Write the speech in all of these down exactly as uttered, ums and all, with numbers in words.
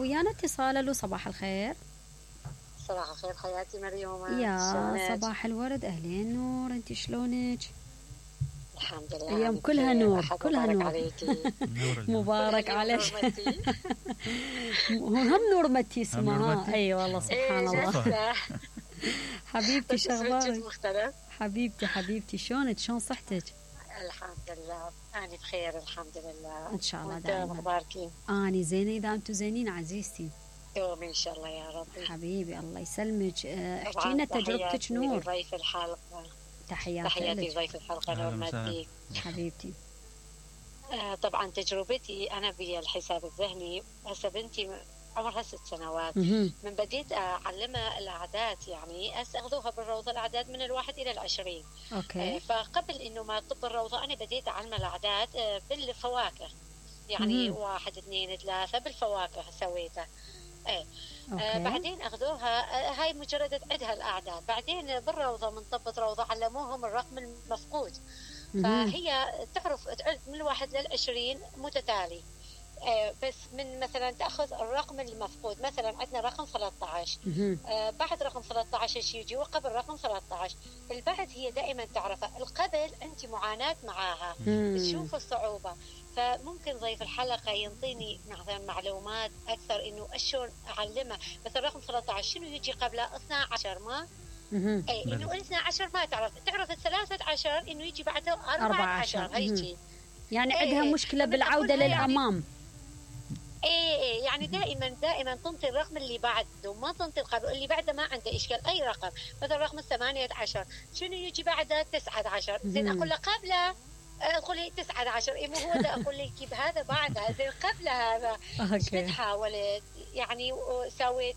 ويانا اتصال. الو صباح الخير. صباح الخير حياتي مريومة. يا صباح الورد، اهلين نور، انت شلونك؟ الحمد لله. ايام كلها نور، كلها نور. مبارك عليك. هو هم نور متي اسمها. اي والله سبحان الله. حبيبتي شغلك؟ حبيبتي حبيبتي شلونك؟ شلون صحتك؟ الحمد لله انا بخير الحمد لله. ان شاء الله دائما. اخبارك؟ اني زينه اذا انتم زينين عزيزتي. يوم ان شاء الله يا رب. حبيبي الله يسلمك. احكي لنا تجربتك نور. ضيف الحلقه. تحياتي تحياتي ضيف الحلقه نور مديك حبيبتي. آه طبعا تجربتي انا بالحساب الذهني هسه بنتي عمرها ست سنوات. مم. من بديت اعلمها الاعداد يعني اخذوها بالروضه الاعداد من الواحد الى العشرين. اوكي. آه فقبل انه ما تطب الروضه انا بديت اعلمها الاعداد آه بالفواكه يعني مم. واحد اثنين ثلاثه بالفواكه سويتها. ايه آه بعدين اخذوها آه هاي مجرد عدها الاعداد. بعدين بالروضه من طبت روضه علموهم الرقم المفقود. فهي تعرف تعد من الواحد للعشرين متتالي. آه بس من مثلا تاخذ الرقم المفقود مثلا عندنا رقم ثلاثة عشر. آه بعد رقم ثلاثة عشر شيء يجي وقبل رقم ثلاثة عشر. البعد هي دائما تعرفها، القبل انت معاناه معاها تشوف الصعوبه. فممكن ضيف الحلقه ينطيني مثلا معلومات اكثر انه شلون اعلمها. مثلا رقم ثلاثة عشر شنو يجي قبله؟ اثنا عشر ما اي انه اثنا عشر ما تعرف تعرف الثلاثة عشر انه يجي بعده أربعة عشر هيجي يعني عندها ايه مشكله بالعوده للامام. ايه ايه يعني دائما دائما تنطي الرقم اللي بعده ما تنطي القبل. اللي بعده ما عنده اشكال اي رقم. مثلا رقم الثمانية عشر شنو يجي بعده؟ تسعة عشر. زين اقول له قبله اقول لي تسعة عشر. ايه مو هو ده اقول لك كيف هذا بعدها زين قبل هذا. اوكي. حاولت يعني سويت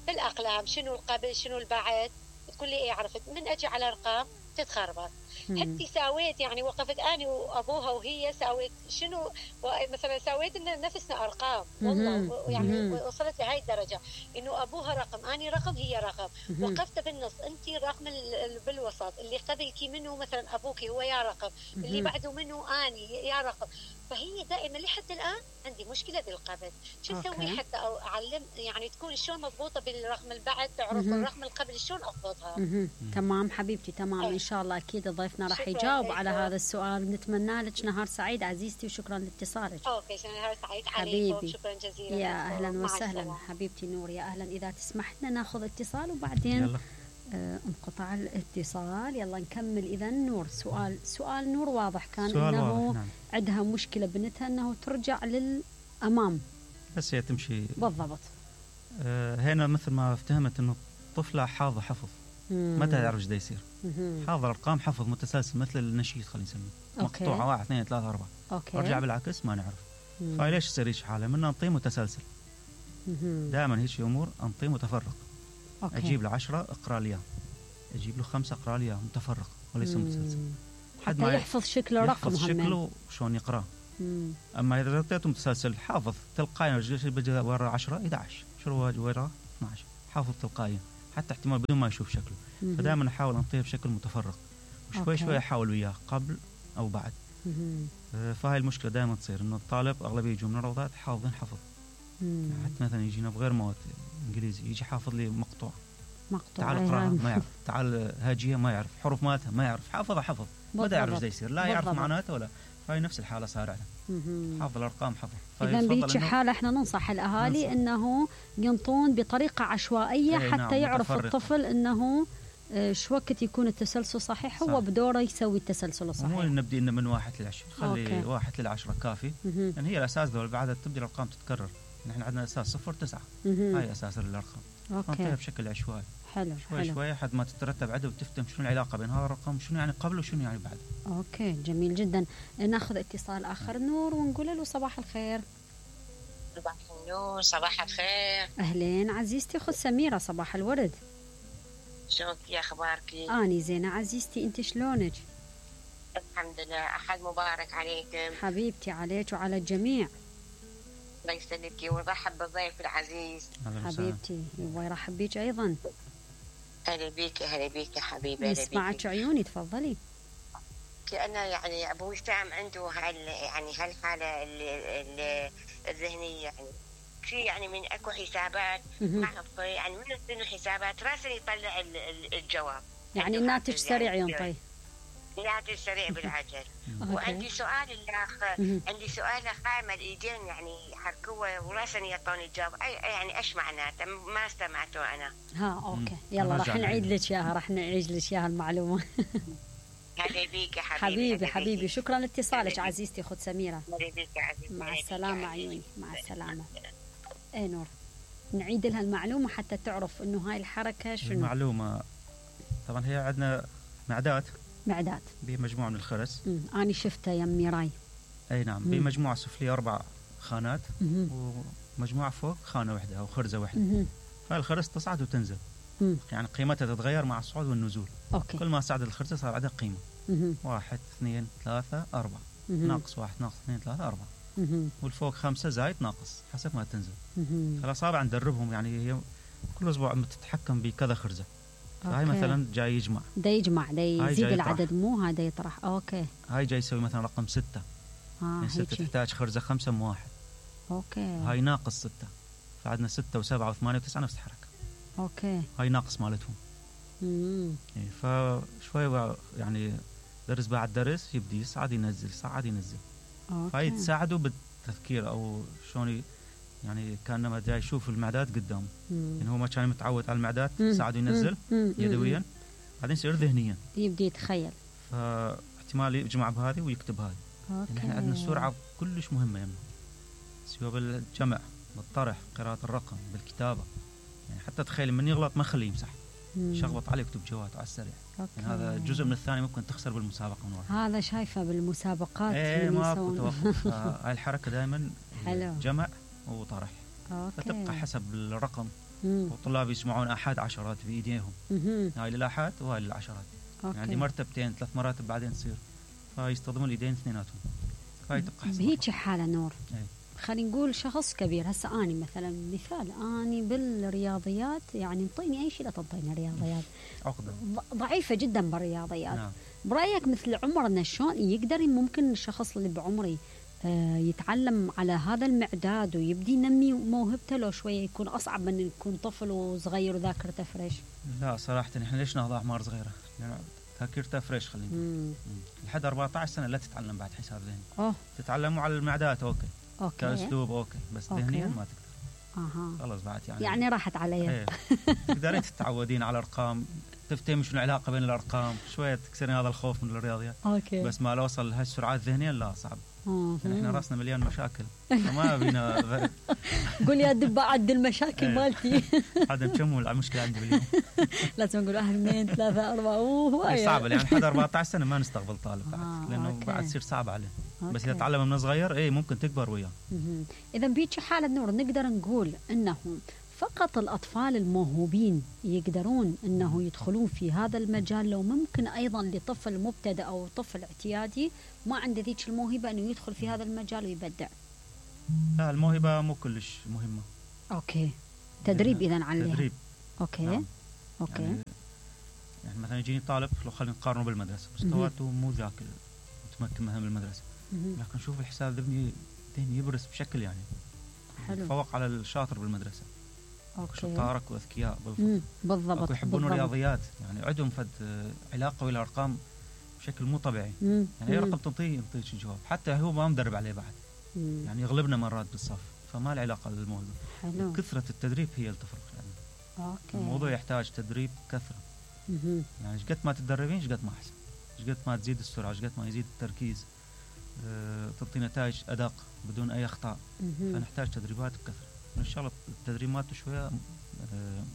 بالاقلام شنو القبل شنو البعد. تقول لي ايه عرفت من اجي على ارقام تتخربط. حتى ساويت يعني وقفت اني وابوها وهي ساويت شنو مثلا ساويت ان نفسنا ارقام والله يعني وصلت لهي الدرجه انه ابوها رقم اني رقم هي رقم. وقفت بالنص انت رقم بالوسط اللي قبلك منه مثلا ابوك هو يا رقم اللي بعده منه اني يا رقم. فهي دائما لحد الان عندي مشكله بالقبل. شو اسوي حتى اعلم يعني تكون شلون مضبوطه بالرقم البعد تعرف الرقم القبل شلون اضبطها. تمام حبيبتي تمام. أي. ان شاء الله اكيد ضيفنا راح يجاوب على هذا السؤال. نتمنى لك نهار سعيد عزيزتي وشكرا لاتصالك. اوكي نهار سعيد حبيبي. شكرا جزيلا. يا اهلا وسهلا حبيبتي نور. يا اهلا. اذا تسمح لنا ناخذ اتصال وبعدين يلا. آه انقطع الاتصال. يلا نكمل. اذا نور سؤال سؤال نور واضح كان سؤال انه واضح. نعم. عندها مشكله بنتها انه ترجع للامام بس هي تمشي بالضبط. آه هنا مثل ما افتهمت انه الطفله حافظه حفظ ما تعرف ايش دا يصير. حافظ الارقام حفظ متسلسل مثل النشيد خلينا نسميه مقطوعه واحد اثنين ثلاثة أربعة. أوكي. ارجع بالعكس ما نعرف. فليش يصير هيك حاله؟ من انطيه متسلسل. دائما هيك امور انطيه متفرق. أوكي. اجيب له عشرة اقرا لي اجيب له خمسة اقرا لي متفرق وليس متسلسل حتى ما يحفظ شكله رقم يحفظ شكله شلون يقراه. اما اذا اعطيته متسلسل حافظ تلقائيا بيجي ورا عشرة احد عشر شو ورا اثنا عشر حافظ تلقائيا حتى احتمال بدون ما يشوف شكله. فدائما احاول انطيه بشكل متفرق وشوي شوي احاول وياه قبل او بعد. فهاي المشكله دائما تصير انه الطالب اغلبيه يجوا من الروضات حافظين حفظ. حتى مثلا يجينا بغير مواد انجليزي يجي حافظ لي مقطوع مقطوع تعال اقراها ما يعرف. تعال هاجيه ما يعرف. حروف مالتها ما يعرف. حافظها حفظ ما يعرف ايش يصير لا يعرف معناته ولا. فهي نفس الحاله صار عندنا حافظ الارقام حفظ. اذا بهيك حاله احنا ننصح الاهالي ننصح. انه ينطون بطريقه عشوائيه حتى نعم يعرف متفرق. الطفل انه شو وقت يكون التسلسل صحيح هو بدوره يسوي التسلسل الصحيح. مو نبدي من واحد لعشرة خلي أوكي. واحد للعشرة كافي لان يعني هي الاساس ذول بعد تبدي الارقام تتكرر. نحن عندنا اساس صفر تسعة هاي اساس الارقام. اوكي بشكل عشوائي حلو شوي حلو. شوي لحد ما تترتب عدد وتفهم شنو العلاقه بين هذا الرقم شنو يعني قبل وشنو يعني بعد. اوكي جميل جدا. ناخذ اتصال اخر نور ونقول له صباح الخير. صباح النور صباح الخير. اهلين عزيزتي اخت سميره صباح الورد. شلونك يا اخبارك؟ اني زينه عزيزتي انت شلونك؟ الحمد لله. احد مبارك عليكم حبيبتي عليك وعلى الجميع. الله يسلمك ورحب بالضيف العزيز حبيبتي ويرحب بيك ايضا. اهلا بيك اهلا بيك يا حبيبي. نسمعك عيوني تفضلي. انا يعني ابوي فهم عنده هال يعني هالحاله الذهنيه يعني في يعني من اكو حسابات نعرف يعني من شنو حسابات راسا يطلع الجواب، يعني الناتج سريع ينطي. ناتج سريع بالعجل. وعندي سؤال الاخ، عندي سؤال قائمه الايدين يعني حركوه وراسا يعطوني الجواب، يعني ايش معناته؟ ما استمعته انا. ها اوكي يلا راح نعيد لك اياها، راح نعيد لك اياها المعلومه. حبيبيك يا حبيبي. حبيبي حبيبي شكرا لاتصالك عزيزتي اخت سميره. حبيبيك يا عزيزتي. مع السلامه عيوني، مع السلامه. اي نور، نعيد لها المعلومه حتى تعرف انه هاي الحركه شنو. المعلومه طبعا هي عندنا معدات معدات بمجموعه من الخرز. امم انا شفتها يم راي. اي نعم، بمجموعه سفليه اربع خانات مم. ومجموعه فوق خانه واحده او خرزه واحده. مم. هاي الخرز تصعد وتنزل. مم. يعني قيمتها تتغير مع الصعود والنزول. اوكي. كل ما صعد الخرزه صار عندها قيمه. مم. واحد اثنين ثلاثه اربعه، مم. ناقص واحد ناقص اثنين ثلاثه اربعه. مم. والفوق خمسه زايد ناقص حسب ما تنزل. مم. فالاصابع ندربهم، يعني هي كل اسبوع بتتحكم بكذا خرزه. فهاي مثلا جاي يجمع، دا يجمع دا يزيد العدد مو هذا يطرح. اوكي. هاي جاي يسوي مثلا رقم ستة. اه يعني ستة تحتاج خرزه خمسه مو واحد. اوكي. هاي ناقص ستة، فعندنا ستة وسبعة وثمانية وتسعة نفس الحركه. اوكي. هاي ناقص مالتهم. امم يعني فشوي يعني درس بعد درس يبدي يصعد ينزل يصعد ينزل. اوكي. فهي تساعده بالتذكير او شلون يعني كانما جاي يشوف المعدات قدامه. يعني هو ما كان متعود على المعدات ساعده ينزل مم. يدويا، بعدين يصير ذهنيا يبدي يتخيل، فاحتمال يجمع بهذه ويكتب هذه. اوكي. يعني احنا عندنا السرعه كلش مهمه يمنا، سواء بالجمع بالطرح قراءه الرقم بالكتابه. يعني حتى تخيل من يغلط ما خليه يمسح، شخبط عليه يكتب جواته على السريع. يعني هذا جزء من الثاني ممكن تخسر بالمسابقه من ورا. هذا شايفه بالمسابقات. ايه ماكو توقف. هاي الحركه دائما جمع وطرح. أوكي. فتبقى حسب الرقم. مم. والطلاب يسمعون احاد عشرات بايديهم. هاي للاحاد وهاي للعشرات. أوكي. يعني مرتبتين ثلاث مراتب بعدين تصير، فيستخدمون الايدين اثنيناتهم. فهي تبقى حسب بهيك حاله نور. ايه. خلينا نقول شخص كبير، هسه اني مثلا مثال اني بالرياضيات، يعني انطيني اي شيء لا تنطيني رياضيات عقده ضعيفه جدا بالرياضيات. نعم. برايك مثل عمرنا شلون يقدر ممكن الشخص اللي بعمري آه يتعلم على هذا المعداد ويبدي ينمي موهبته؟ لو شويه يكون اصعب من يكون طفل وصغير وذاكرته فريش. لا صراحه احنا ليش ناخذ اعمار صغيره؟ يعني ذاكرته فريش خلينا نقول لحد أربعة عشر سنه لا تتعلم بعد حساب ذهني. اوه تتعلموا على المعدات اوكي اوكي كاسلوب اوكي، بس ذهنيا ما تقدر. اها خلاص بعد يعني يعني راحت علي. ايه. تقدرين تتعودين على الارقام، تفتهم شنو العلاقه بين الارقام، شويه تكسرين هذا الخوف من الرياضيات. اوكي. بس ما اوصل لهالسرعات الذهنيه لا صعب. يعني احنا راسنا مليان مشاكل فما بينا. قول يا دب عد المشاكل مالتي. هذا كم المشكله عندي باليوم. لازم نقول واحد اثنين ثلاثه اربعه. اوه صعبه يعني لحد أربعة عشر سنه ما نستقبل طالب بعد آه لانه أوكي. بعد تصير صعب عليه. أوكي. بس اذا تعلم من صغير اي ممكن تكبر وياه. اذا بيجي حاله نور نقدر نقول انه فقط الأطفال الموهوبين يقدرون أنه يدخلون في هذا المجال، لو ممكن أيضا لطفل مبتدئ أو طفل اعتيادي ما عنده ذيك الموهبة أنه يدخل في هذا المجال ويبدع؟ لا الموهبة مو كلش مهمة. أوكي. تدريب إذن عليها. تدريب. أوكي. نعم. أوكي. يعني, يعني مثلا يجيني طالب لو خلينا نقارنه بالمدرسة مستواته مو ذاك متمكن مثلا بالمدرسة، لكن شوف الحساب ذهني ذهني يبرز بشكل يعني حلو. فوق على الشاطر بالمدرسة. اوكي. شطارك واذكياء بالضبط. يحبون الرياضيات، يعني عندهم فد علاقه بالارقام بشكل مو طبيعي. مم. يعني اي رقم تنطيه ينطيك الجواب، حتى هو ما مدرب عليه بعد. مم. يعني يغلبنا مرات بالصف، فما له علاقه بالموضوع. حلو. كثره التدريب هي اللي تفرق يعني. اوكي. الموضوع يحتاج تدريب كثره. مم. يعني ايش قد ما تتدربين ايش قد ما احسن، ايش قد ما تزيد السرعه ايش قد ما يزيد التركيز، أه تعطي نتائج ادق بدون اي اخطاء. مم. فنحتاج تدريبات بكثره. ان شاء الله التدريب مالته شويه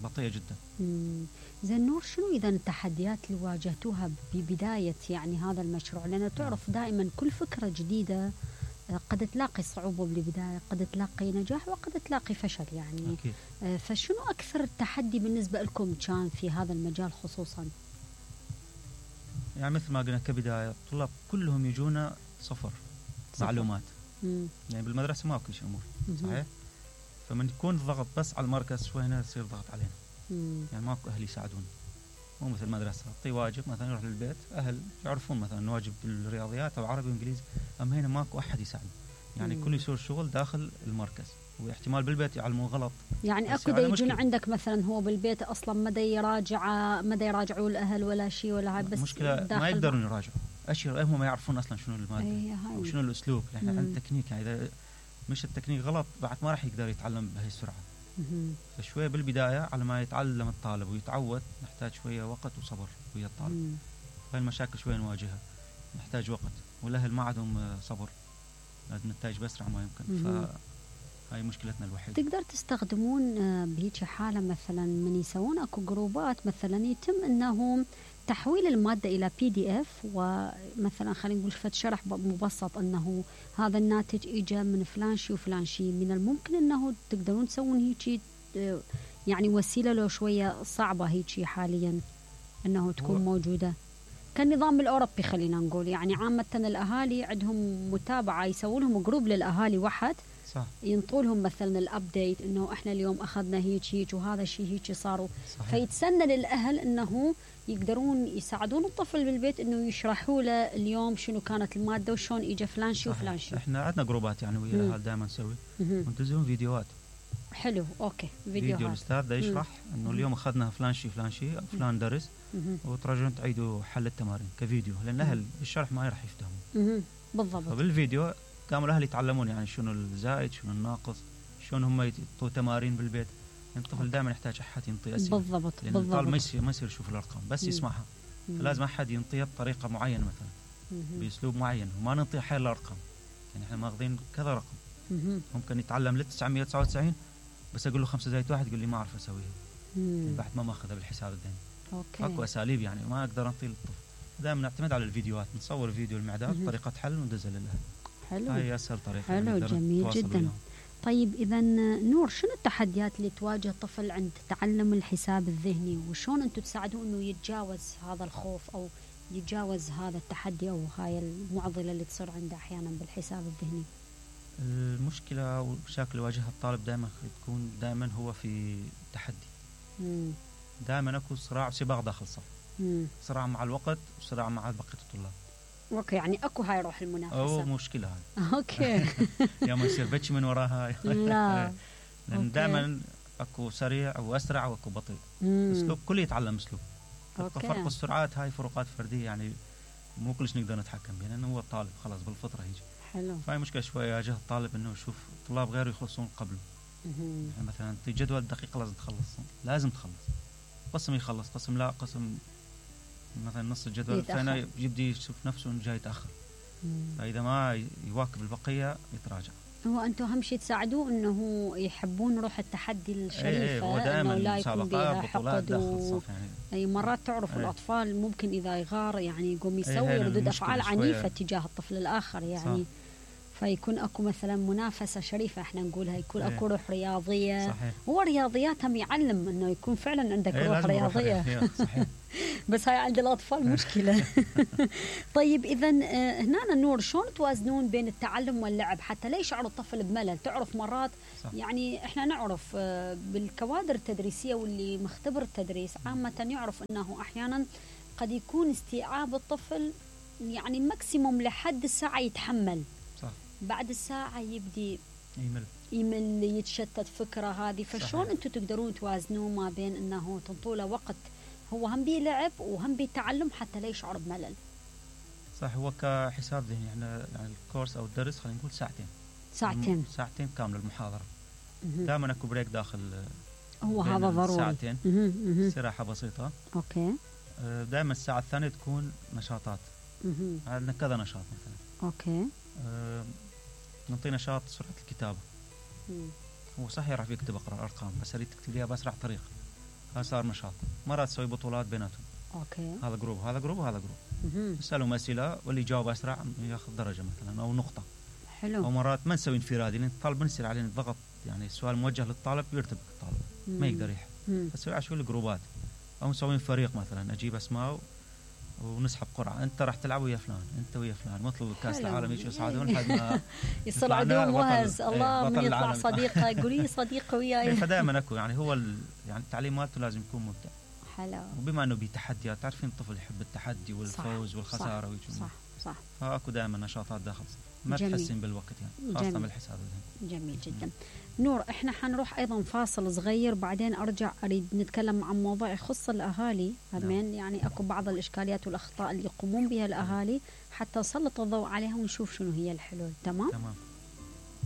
بطيئه جدا. زين نور، شنو اذا التحديات اللي واجهتوها ببدايه يعني هذا المشروع؟ لان تعرف دائما كل فكره جديده قد تلاقي صعوبه بالبدايه، قد تلاقي نجاح وقد تلاقي فشل يعني. أكيد. فشنو اكثر التحدي بالنسبه لكم كان في هذا المجال خصوصا؟ يعني مثل ما قلنا كبدايه الطلاب كلهم يجونا صفر, صفر. معلومات. مم. يعني بالمدرسه ما كل شيء امور صحيح. فمن يكون الضغط بس على المركز شوي هنا يصير ضغط علينا. مم. يعني ماكو اهل يساعدون، مو مثل المدرسه اعطي واجب مثلا يروح للبيت اهل يعرفون مثلا واجب بالرياضيات او عربي وانجليزي، اما هنا ماكو احد يساعد. يعني مم. كل يسوي شغل داخل المركز، واحتمال بالبيت يعلموه غلط. يعني اكو دا يجون عندك مثلا هو بالبيت اصلا ما دا يراجع ما دا يراجعوا الاهل ولا شيء ولا هاي، بس مشكله ما يقدرون يراجعوا اشياء، هم ما يعرفون اصلا شنو الماده أيه او شنو الاسلوب. احنا يعني عندنا تكنيك، يعني اذا مش التكنيك غلط بعد ما راح يقدر يتعلم بهي السرعه. فشويه بالبدايه على ما يتعلم الطالب ويتعود نحتاج شويه وقت وصبر ويا الطالب. هاي المشاكل شويه نواجهها، نحتاج وقت، والاهل ما عندهم صبر، لازم نتائج باسرع ما يمكن. فهاي مشكلتنا الوحيده. تقدر تستخدمون بهيك حاله مثلا من يسوون اكو جروبات مثلا يتم انه تحويل الماده الى بي دي اف، ومثلا خلينا نقول فد شرح مبسط انه هذا الناتج اجى من فلان شيء وفلان شيء. من الممكن انه تقدرون تسوون هيك يعني وسيله لو شويه صعبه هيك حاليا انه تكون موجوده كالنظام الاوروبي خلينا نقول. يعني عامه الاهالي عندهم متابعه، يسوون لهم جروب للاهالي واحد، صح، ينطوا لهم مثلا الابديت انه احنا اليوم اخذنا هيك هيك وهذا الشيء هيك صاروا. فيتسنى للاهل انه يقدرون يساعدون الطفل بالبيت انه يشرحوا له اليوم شنو كانت الماده وشون اجى فلان شيء وفلان شيء. احنا عندنا جروبات يعني ويا الاهل دائما نسوي وننزلون فيديوهات. حلو، اوكي، فيديوهات فيديو الاستاذ ده يشرح انه اليوم اخذنا فلان شيء فلان شيء او فلان درس، وترجعون تعيدوا حل التمارين كفيديو، لان الاهل بالشرح ما راح يفهموا. بالضبط. فبالفيديو قاموا الاهل يتعلمون يعني شنو الزائد شنو الناقص، شلون هم يعطوا تمارين بالبيت. الطفل دائما يحتاج احد ينطي اسئله. بالضبط لان بالضبط. الطالب ما يصير ما يصير يشوف الارقام بس يسمعها. فلازم احد ينطيها بطريقه معينه مثلا باسلوب معين، وما ننطي حيل الارقام. يعني احنا ماخذين كذا رقم ممكن يتعلم ل تسعمية وتسعة وتسعين، بس اقول له خمسة زائد واحد يقول لي ما اعرف اسويها. يعني بعد ما ماخذها بالحساب الذهني. اوكي. اكو اساليب يعني ما اقدر انطي للطفل. دائما نعتمد على الفيديوهات، نصور فيديو المعدات طريقه حل وندزها للاهل. حلو. هاي اسهل طريقه. حلو، جميل جدا. وياهم. طيب اذا نور، شنو التحديات اللي تواجه الطفل عند تعلم الحساب الذهني، وشون انتم تساعدوه انه يتجاوز هذا الخوف او يتجاوز هذا التحدي او هاي المعضله اللي تصير عنده احيانا بالحساب الذهني؟ المشكله والمشاكل اللي يواجهها الطالب دائما تكون دائما هو في تحدي. دائما اكو صراع وسباق داخل الصف. صراع مع الوقت وصراع مع بقيه الطلاب. اوكي، يعني اكو هاي روح المنافسه. او مشكله هاي. اوكي. يا ما يصير بتش من وراها. لا. لان دائما اكو سريع واسرع واكو بطيء. اسلوب كل يتعلم اسلوب. فرق السرعات هاي فروقات فرديه، يعني مو كلش نقدر نتحكم بها لانه هو الطالب خلاص بالفطره هيجي. حلو. فهي مشكله شويه يواجه الطالب انه يشوف طلاب غيره يخلصون قبله. يعني مثلا انت جدول دقيقه لازم تخلص، لازم تخلص. قسم يخلص، قسم لا، قسم مثلا نص الجدول الثاني يبدي يشوف نفسه انه جاي يتاخر. فاذا ما يواكب البقيه يتراجع. هو انتم اهم شيء تساعدوه انه يحبون روح التحدي الشريفه. ايه هو دائما لا يكون بها حقد و... يعني. اي مرات تعرف ايه. الاطفال ممكن اذا يغار يعني يقوم يسوي ايه ردود افعال عنيفه تجاه الطفل الاخر يعني. صح. فيكون اكو مثلا منافسه شريفه احنا نقولها، يكون ايه. اكو روح رياضيه. صحيح. هو رياضيات هم يعلم انه يكون فعلا عندك ايه روح رياضيه. صحيح. بس هاي عند الاطفال مشكله. طيب اذا هنا النور، شلون توازنون بين التعلم واللعب حتى لا يشعر الطفل بملل؟ تعرف مرات صح. يعني احنا نعرف بالكوادر التدريسيه واللي مختبر التدريس عامه يعرف انه احيانا قد يكون استيعاب الطفل يعني ماكسيموم لحد الساعه يتحمل. صح. بعد الساعه يبدي يمل يمل يتشتت فكره هذه. فشلون انتم تقدرون توازنون ما بين انه تنطوا له وقت هو هم بيلعب وهم بيتعلم حتى لا يشعر بملل؟ صح. هو كحساب ذهني احنا يعني الكورس او الدرس خلينا نقول ساعتين ساعتين ساعتين كامله المحاضره. دائما اكو بريك داخل، هو هذا ضروري. ساعتين استراحه بسيطه. اوكي. دائما الساعه الثانيه تكون نشاطات. عندنا كذا نشاط مثلا. اوكي. أه نعطي نشاط سرعه الكتابه. مم. هو صح يعرف يكتب اقرا ارقام بس اريد تكتب ليها باسرع طريقه. هذا صار نشاط. مرات تسوي بطولات بيناتهم. اوكي. هذا جروب هذا جروب وهذا جروب. تسالهم اسئله واللي يجاوب اسرع ياخذ درجه مثلا او نقطه. حلو. ومرات ما نسوي انفرادي لان الطالب بنصير عليه الضغط، يعني السؤال موجه للطالب يرتبك الطالب. مم. ما يقدر يحل. فنسوي عشوائي الجروبات او نسوي فريق مثلا، اجيب اسماء ونسحب قرعه، انت راح تلعب ويا فلان، انت ويا فلان، مثل كاس العالم يجوا يصعدون لحد ما يصعدون وهز الله من يطلع صديقه يقولي صديقه وياي. فدائما اكو يعني هو يعني التعليم مالته لازم يكون ممتع. حلو. وبما انه بتحديات، تعرفين الطفل يحب التحدي والفوز صح والخساره صح, صح. صح. فاكو دائما نشاطات داخل ما جميل. تحسين بالوقت يعني خاصة بالحساب الذهني. جميل جدا. نور احنا حنروح ايضا فاصل صغير، بعدين ارجع اريد نتكلم عن موضوع يخص الاهالي همين. نعم. يعني اكو بعض الاشكاليات والاخطاء اللي يقومون بها الاهالي حتى نسلط الضوء عليها ونشوف شنو هي الحلول. تمام؟ تمام.